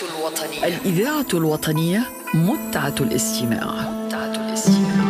الوطنية، الإذاعة الوطنية، متعة الاستماع، متعة الاستماع.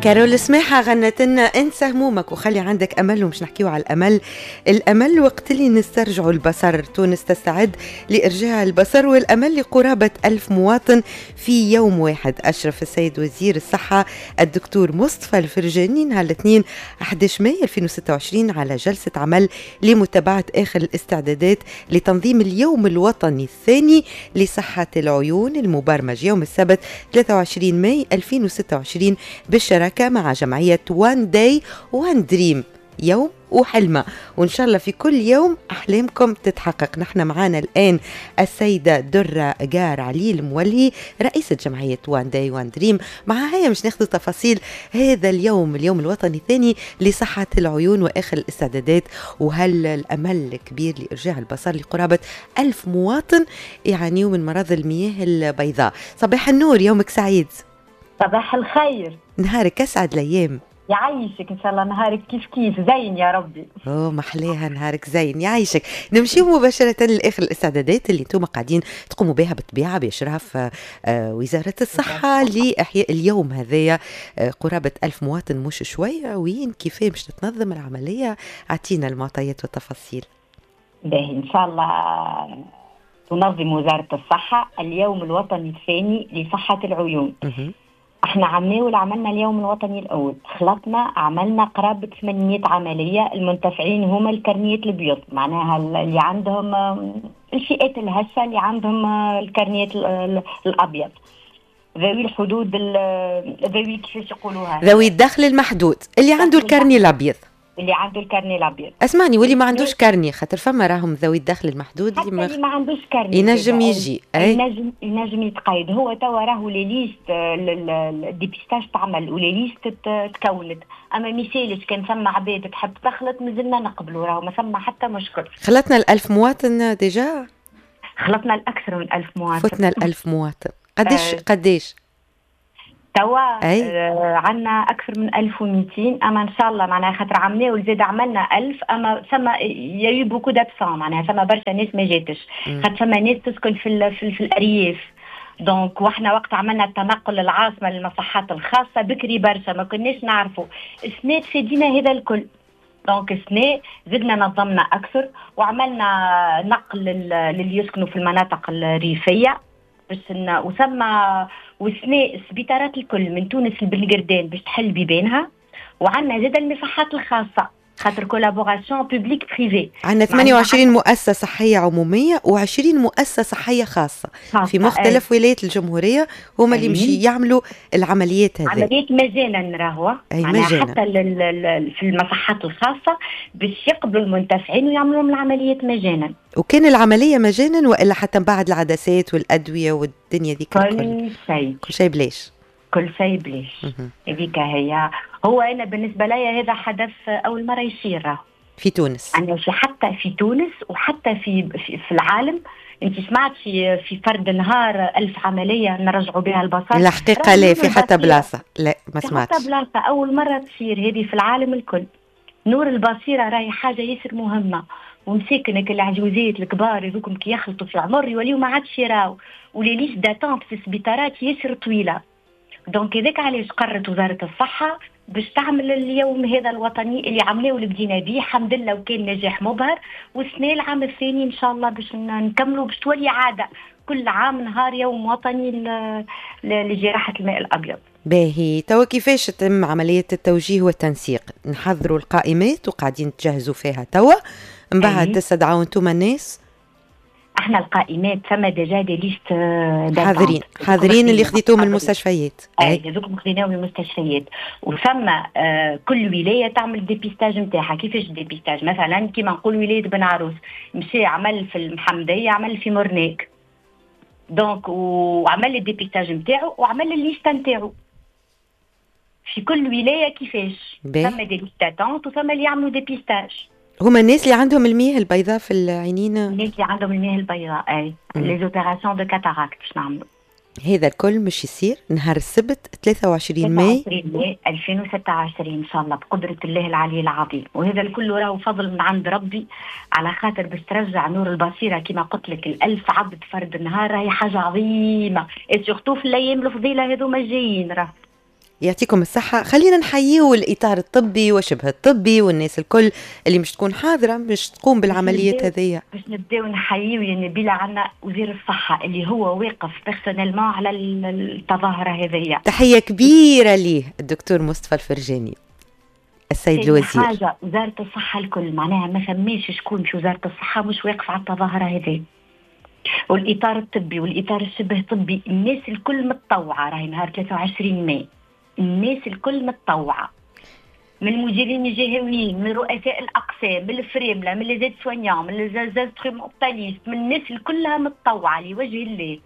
كارول سماحة غنت لنا انسى همومك وخلي عندك أمل، ومش نحكيو على الأمل. الأمل وقت اللي نسترجعوا البصر. تونس تستعد لإرجاع البصر والأمل لقرابة 1000 مواطن في يوم واحد. أشرف السيد وزير الصحة الدكتور مصطفى الفرجاني نهار الاثنين 11 ماي 2026 على جلسة عمل لمتابعة آخر الاستعدادات لتنظيم اليوم الوطني الثاني لصحة العيون المبرمج يوم السبت 23 ماي 2026 بالشراكة مع جمعية One Day One Dream، يوم وحلمة، وإن شاء الله في كل يوم أحلامكم تتحقق. نحن معانا الآن السيدة درة جار علي المولي، رئيسة جمعية One Day One Dream. معها هي مش ناخذ تفاصيل هذا اليوم، اليوم الوطني الثاني لصحة العيون وآخر الاستعدادات، وهل الأمل الكبير لإرجاع البصر لقرابة 1000 مواطن يعانيوا من مرض المياه البيضاء. صباح النور، يومك سعيد. صباح الخير، نهارك اسعد الايام. يعيشك ان شاء الله، نهارك كيف كيف زين يا ربي. اوه محليها، نهارك زين يعيشك. نمشي مباشرة لاخر الاستعدادات اللي انتم قاعدين تقوموا بها بالطبيعة باشراف وزارة الصحة لاحياء اليوم هذايا، قرابة 1000 مواطن مش شوية. وين كيفاه باش تتنظم العملية؟ اعطينا المعطيات والتفاصيل. باهي، ان شاء الله تنظم وزارة الصحة اليوم الوطني الثاني لصحة العيون. احنا عملنا عملنا اليوم الوطني الاول، خلطنا عملنا قرابة 800 عمليه. المنتفعين هما الكرنيات الابيض، معناها اللي عندهم الفئات الهشه، اللي عندهم الكرنيات الابيض، ذوي الحدود، ذوي كيفاش يقولوها، ذوي الدخل المحدود، اللي عنده ال carnet الابيض. اللي عنده ال carnet الابيض. اسمعني، واللي ما عندوش carnet، خاطر فما راهم ذوي الدخل المحدود. اللي ما عندوش carnet ينجم يجي. اي ينجم يتقيد. هو توا راهو les listes، ال dépistage تعمل و les listes تكونت، اما ميسالش كان ثم عباد تحب تخلط مازلنا نقبلوا، راهو ما ثم حتى مشكل. خلطنا ال1000 مواطن déjà؟ خلطنا الأكثر من 1000 مواطن. فتنا ال1000 مواطن. قديش قديش؟ توا عندنا اكثر من 1200، اما ان شاء الله معناها خاطر عملنا وزاد عملنا 1000، اما ثم il y a eu beaucoup d'absents، معناها ثم برشا ناس ما جاتش، خاطر ثم ناس تسكن في الارياف. donc واحنا وقت عملنا التنقل للعاصمه للمصحات الخاصة بكري برشا ما كناش نعرفوا. السنة تفادينا هذا الكل، donc السنة زدنا نظمنا اكثر وعملنا نقل للي يسكنوا في المناطق الريفية باش وثم وسنة السبيطارات الكل من تونس لبنقردان باش تحل بيبانها، وعندنا زاد المصحات الخاصة خاطر collaboration public privé. عندنا 28 مؤسسة صحية عمومية و20 مؤسسة صحية خاصة، خاصة في مختلف ولايات الجمهورية، هما اللي مشي يعملوا العمليات هذه. عمليات مجانا راهو. أي مجانا. حتى في المصحات الخاصة باش يقبلوا المنتفعين ويعملوا لهم العمليات مجانا. وكان العملية مجانا وإلا حتى من بعد العدسات والأدوية والدنيا ذيك؟ كل شيء. كل شيء بلاش. كل شيء بلاش. هذيك هي. هو انا بالنسبة لي هذا حدث اول مرة يصير في تونس. انا في حتى في تونس وحتى في العالم. انت سمعت في فرد نهار 1000 عملية نرجعوا بها البصر؟ الحقيقة لا، في حتى بلاصة لا ما سمعتش. حتى بلاصه، اول مرة تصير هذه في العالم الكل. نور البصيرة راهي حاجة ياسر مهمه، ومساكنك العجوزات الكبار هذوكم كي يخلطوا في العمر يوليو ما عادش يراو، و les listes d'attente في السبيطارات ياسر طويله. donc هذاك علاش قررت وزارة الصحة باش تعمل اليوم هذا الوطني اللي عملناه واللي بدينا به الحمد لله وكان نجاح مبهر. والسنة العام الثاني ان شاء الله باش نكملوا، باش تولي عادة كل عام نهار يوم وطني لجراحه الماء الابيض. باهي، توا كيفاش تتم عملية التوجيه والتنسيق؟ نحضروا القائمات وقاعدين تجهزوا فيها توا، من بعد تستدعوا انتم الناس؟ احنا القائمات ثم déjà des listes. حاضرين حاضرين اللي خذيتوهم من المستشفيات. اي، هذوك خذيناهم من المستشفيات، وثم كل ولاية تعمل dépistage نتاعها. كيفاش dépistage؟ مثلا كيما نقول ولاية بن عروس مشى عمل في المحمديه، عمل في مرناق، donc وعمل ال dépistage نتاعو وعمل ال liste نتاعو في كل ولايه. كيفاش؟ ثم des listes d'attente وثم اللي يعملوا dépistage. هما الناس اللي عندهم المياه البيضاء في العينين؟ الناس اللي عندهم المياه البيضاء، اي، les opérations de cataracte باش نعملوا. هذا الكل مش يصير نهار السبت 23 ماي 2026 ان شاء الله بقدره الله العلي العظيم. وهذا الكل راهو فضل من عند ربي، على خاطر باش ترجع نور البصيرة كما قلت لك 1000 عبد فرد نهار راهي حاجة عظيمة، surtout في الايام الفضيلة هذوما الجايين. راه يعطيكم الصحة. خلينا نحييو الإطار الطبي وشبه الطبي والناس الكل اللي مش تكون حاضرة مش تقوم بالعمليات هذية. باش نبداو نحييو يا نبيلة عنا وزير الصحة اللي هو واقف personnellement على التظاهرة هذية. تحية كبيرة ليه الدكتور مصطفى الفرجاني السيد الوزير. حاجة وزارة الصحة الكل معناها ما فماش شكون في وزارة الصحة مش واقف على التظاهرة هذه، والإطار الطبي والإطار الشبه طبي، الناس الكل متطوعة. راهي نهار 23 ماي الناس الكل متطوعة، من المديرين الجهويين، من رؤساء الأقسام، من الفريملة، من les aides-soignants، من les instrumentalistes، من الناس الكلها متطوعة لوجه الله.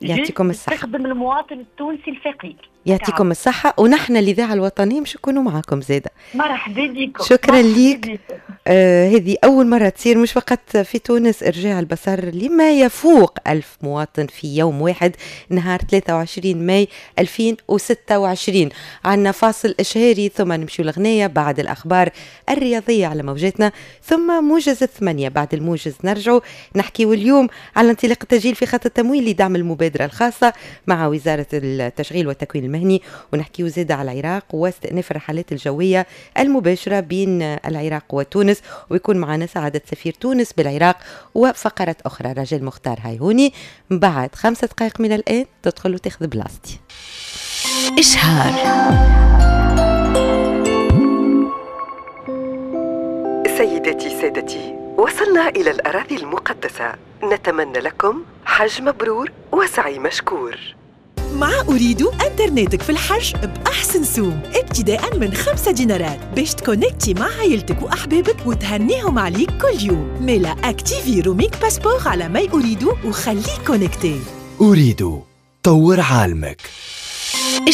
يعطيكم الصحة. تخدم المواطن التونسي الفقير. يعطيكم الصحة، ونحن الإذاعة الوطنية مش نكونوا معاكم زادة. مرحبا بكم. شكرا ليك. هذه أول مرة تصير مش فقط في تونس إرجاع البصر لما يفوق 1000 مواطن في يوم واحد نهار 23 ماي 2026. عندنا فاصل إشهاري ثم نمشي الغنية بعد الأخبار الرياضية على موجاتنا، ثم موجز 8. بعد الموجز نرجع نحكي اليوم على انطلاق التسجيل في خط التمويل لدعم المبادرة الخاصة مع وزارة التشغيل والتكوين المهني، ونحكي زادة على العراق واستئناف الرحلات الجوية المباشرة بين العراق وتونس، ويكون معنا سعادة سفير تونس بالعراق وفقرة أخرى رجل مختار هايهوني. بعد 5 دقائق من الآن تدخل وتاخذ بلاصتي. إشهار. سيداتي سادتي، وصلنا إلى الأراضي المقدسة. نتمنى لكم حج مبرور وسعي مشكور. مع أوريدو انترنتك في الحج بأحسن سوم ابتداء من 5 دينارات باش تكونكتي مع عائلتك وأحبابك وتهنيهم عليك كل يوم. ميلا activer roaming passeport على my أوريدو وخليك connecté. أوريدو، طور عالمك.